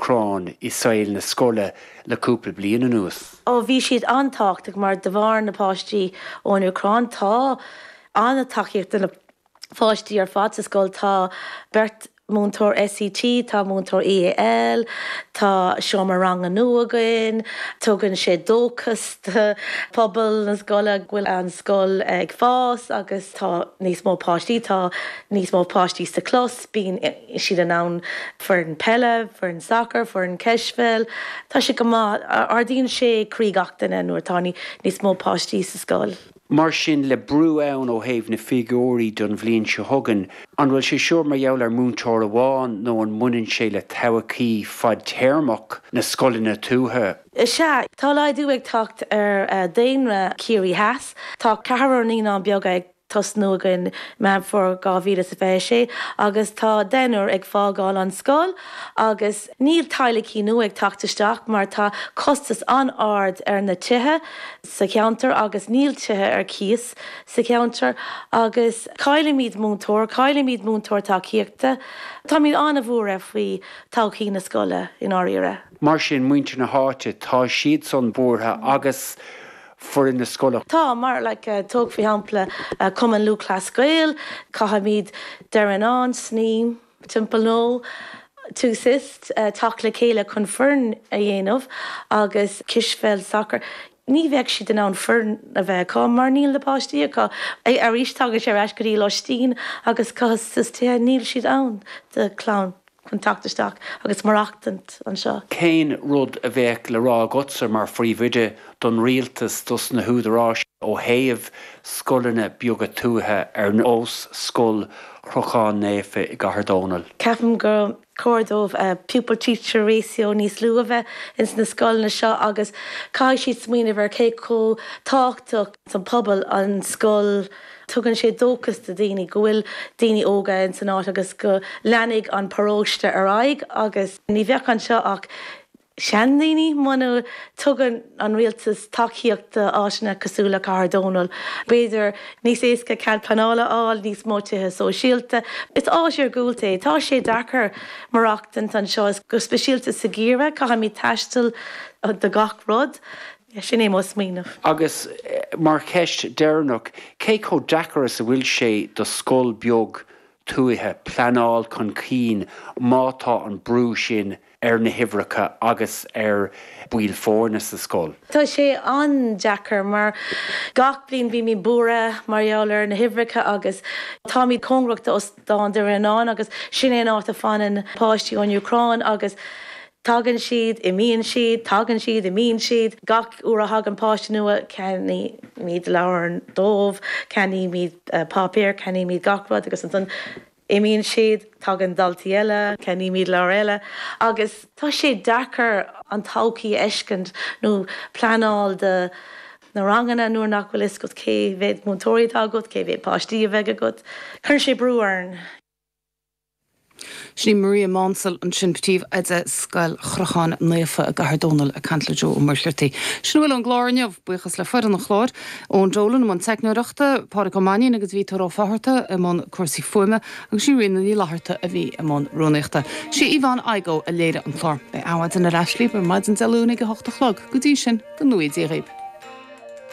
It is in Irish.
Úcráin i saol na scoile le cúpla bliain anuas? Ó bhí siad an-tábhachtach mar de bharr na páistí ón Úcráin tá an-tacaíocht do na pháistí ar fad sa scoil. Tá beirt múinteoir SET, tá múinteoir EAL, tá seomra ranga nua againn, tugann sé dóchas do phobal na scoile go bhfuil an scoil ag fás agus tá níos mó páistí, tá níos mó páistí sa chlós, bíonn siad in ann foireann peile, foireann sacair, foireann cispheil, tá sé go maith, ardaíonn sé croí gach duine nuair atá níos mó páistí sa scoil. Mar sin, le brú ann ó thaobh na figiúirí don bhliain seo chugainn, an bhfuil sé seo mar gheall ar múinteoir amháin nó an mbaineann sé le todhchaí fadtéarmach na scoileanna tuaithe? Sea, tá laghdú ag teacht ar daonra Chiarraí Theas. Tá ceathrar naíonán beaga ag tosnú againn Meán Fómhair 2026 agus tá deichniúr ag fágáil an scoil agus níl teaghlaigh nua ag teacht isteach mar tá costas an-ard ar na tithe. sa cheantar agus níl tithe ar cíos sa cheantar agus caillimid múinteoir, caillimid múinteoir tacaíochta. Táimid an-bhuartha faoi todhchaí na scoile i ndáiríre. Mar sin, muintir na háite, tá siadsan buartha agus foireann na scoile. Tá, mar like tóg faoi shampla Cumann Lúthchleas Gael, caithfimid Doire Fhíonáin, Sneem, Templenoe, Tuosist, teacht le chéile chun foireann a dhéanamh agus cispheil, sacar, ní bheadh siad in ann foireann a bheith acu mar níl na páistí acu. Arís tagann sé ar ais go dtí loistín agus costas tithe, níl siad ann do chlann chun teacht isteach agus maireachtaint anseo. Cén rud a bheadh le rá agatsa mar phríomhoide don rialtas, dos na húdaráis ó thaobh scoileanna beaga tuaithe ar nós Scoil Chrochán Naofa i gCathair Dónall? Ceapaim gur chóir dóibh pupil teacher ratio níos lú a bheith ins na scoileanna seo agus caithfidh siad smaoineamh ar cé chomh tábhachtach don pobal an scoil. Tugann sé dóchas do daoine go bhfuil daoine óga ins an áit agus go leanfaidh an paróiste ar aghaidh agus ní bheadh anseo ach seandaoine muna dtugann an rialtas tacaíocht d'áiteanna cosúil le Cathair Dónall. B'fhéidir níos éasca cead pleanála a fháil, níos mó tithe sóisialta. Is áit iargúlta é. Tá sé deacair maireachtaint anseo, go speisialta sa gheimhreadh. Caithfimid taisteal do gach rud. Sin é mo smaoineamh. Agus mar cheist deireanach, cé chomh deacair is a bhfuil sé do scoil beag tuaithe pleanáil chun cinn má tá an brú sin ar na huimhreacha agus ar baill foirne sa scoil. Tá sé an-deacair mar gach bliain bímid buartha mar gheall ar na huimhreacha agus táimid cóngarach d'Óstán Doire Fhíonáin agus sin é an áit a fanann páistí ón Úcráin agus Tagann siad, imíonn siad, tagann siad, imíonn siad. Gach uair a thagann páiste nua, ceannaímid leabhair dóibh, ceannaímid páipéar, ceannaímid gach rud agus ansan imíonn siad, tagann daltaí eile, ceannaímid leabhair eile agus tá sé deacair an todhchaí a fheiscint nó pleanáil do na ranganna nuair nach bhfuil fhios agat cé mhéad múinteoirí atá agat, cé mhéad páistí a bheidh agat. Cuireann sé brú orainn. Sin í Maria Maunsell ansin, Príomhoide Scoil Chrocháin Naofa i gCathair Dónall ag caint le Joe Ó Muircheartaigh. Sin a bhfuil ón gclár inniu. Buíochas le foireann an chláir, Eoin Dolan i mbun teicneoireachta, Pádraig Ó Mainnín agus Víotóir Ó Fátharta i mbun cúrsaí fuaime agus sí Ríona Ní Fhlatharta a bhí i mbun rúnaíochta. Sí Yvonne Igoe a léirigh an clár. Beidh Adhmhaidin ar ais libh ar maidin Dé Luain ag a hocht a chlog. Go dtí sin, go ngnóthaí Dia dhaoibh.